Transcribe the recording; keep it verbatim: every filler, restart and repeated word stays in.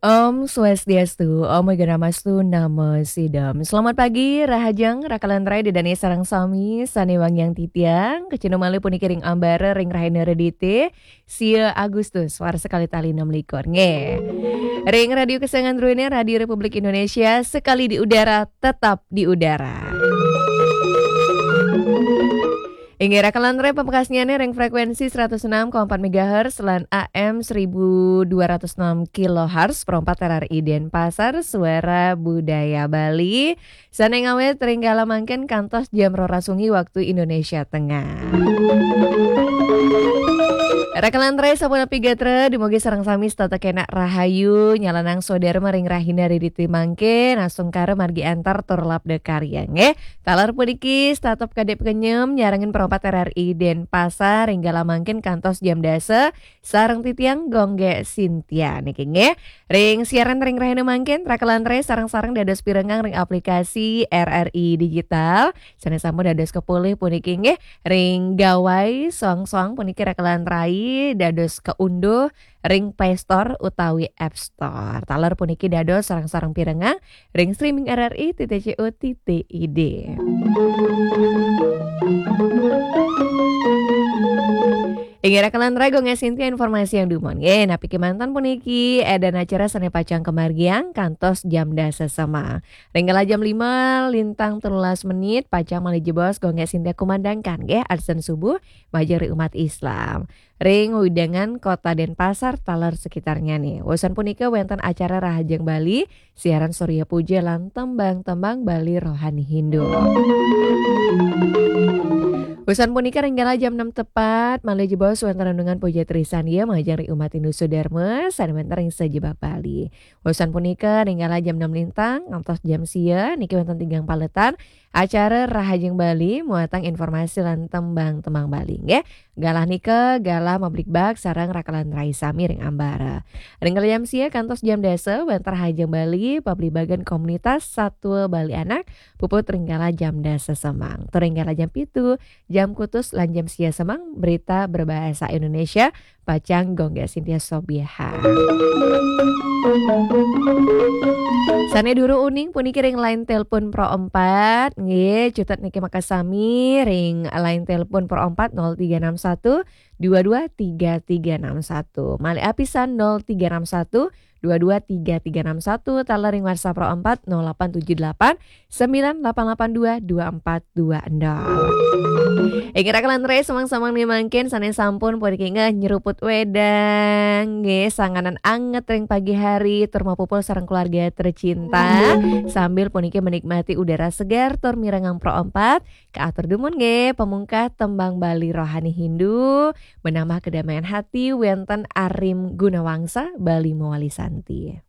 Om Swastiastu, Om Awighnamastu, Namo Siddham. Selamat pagi, Rahajeng, Rakalan Rai, Ida dané sareng sami, sané wangiang titiang, kacunduk malih puniki ring ambara ring rahina Redité, sia Agustus, warsa kalih tali enam likur. Nggih. Ring Radio Kesayangan Druéné, Radio Republik Indonesia, sekali di udara, tetap di udara. Inggih, Rakalan Rai, pamekasnyané ring frekuensi seratus enam koma empat megahertz lan A M seribu dua ratus enam kilohertz, Pro empat R R I Denpasar, Suara Budaya Bali. Sané ngawit ring galah mangkin kantos jam roras wengi waktu Indonesia Tengah. Rakalan Rai, sapunapi gatra, dumugi sareng sami setata kenak rahayu, nyalanang swadarma ring rahina Redité mangkin, astungkara margi antar tur labda karya, nggih. Taler puniki, setata kadep kenyem, nyarengin Pro empat R R I Denpasar, ring galah mangkin kantos jam dasa, sareng titiang Gonggé Sintia niki, nggih. Ring siaran ring rahina mangkin, Rakalan Rai sareng-sareng dados pirengang ring aplikasi R R I Digital. Sané sampun dados kapolih puniki, nggih, ring gawai soang-soang puniki Rakalan Rai dados kaunduh ring Play Store utawi App Store. Taler puniki dados sareng-sareng pirengang ring streaming R R I titik co titik I D. Inggih, Rakalan Rai, Gonggé Sintia, informasiang dumun. Nggih, napi kémanten puniki, édan acara sané pacang kamargiang kantos jam dasa semeng. Ring galah jam lima lintang telulas menit, pacang malih jebos Gonggé Sintia kumandangkan, nggih, adzan subuh, majeng ring umat Islam. Ring wewidangan Kota Denpasar, taler sekitarnyané. Wusan punika wénten acara Rahajeng Bali, siaran Surya Puja lan tembang-tembang Bali rohani Hindu. Wusan punika ring galah jam enam tepat, malih jebos wénten renungan puja trisandia majeng ring umat Hindu Sudharma, sané wénten ring sajebag Bali. Wusan punika ring galah jam enam lintang, ngantos jam sia, niki wénten tigang paletan, acara Rahajeng Bali, muatang informasi lan tembang-tembang Bali, nggih. Galah nika, galah mabligbagan sareng Rakalan Rai sami ring ambara. Ring galah jam sia kantos jam dasa, wénten Rahajeng Bali, pabligbagan komunitas Satwa Bali Anak, puput ring galah jam dasa semeng. Tur ring galah jam pitu, jam kutus lan jam sia semeng, berita berbahasa Indonesia, pacang Gonggé Sintia sobiahang. Sané durung uning puniki ring line telepon Pro empat, nggih, cutet niki makasami ring line telepon Pro empat nol tiga enam satu dua dua tiga tiga enam satu. Malih apisan nol tiga enam satu dua dua tiga tiga enam satu, taler ring WhatsApp Pro empat nol delapan tujuh delapan sembilan delapan delapan dua dua empat dua nol. Inggih, Rakalan Rai, samang-samang nika mangkin sané sampun puniki nggih nyeruput wédang, nggih, sanganan anget ring pagi hari, tur mapupul sareng keluarga tercinta, sambil puniki menikmati udara segar tur mirengang Pro empat, kaatur dumun nggih, pamungkah tembang Bali rohani Hindu, menambah kedamaian hati, wénten Arim Gunawangsa, Bali Mawali Santi.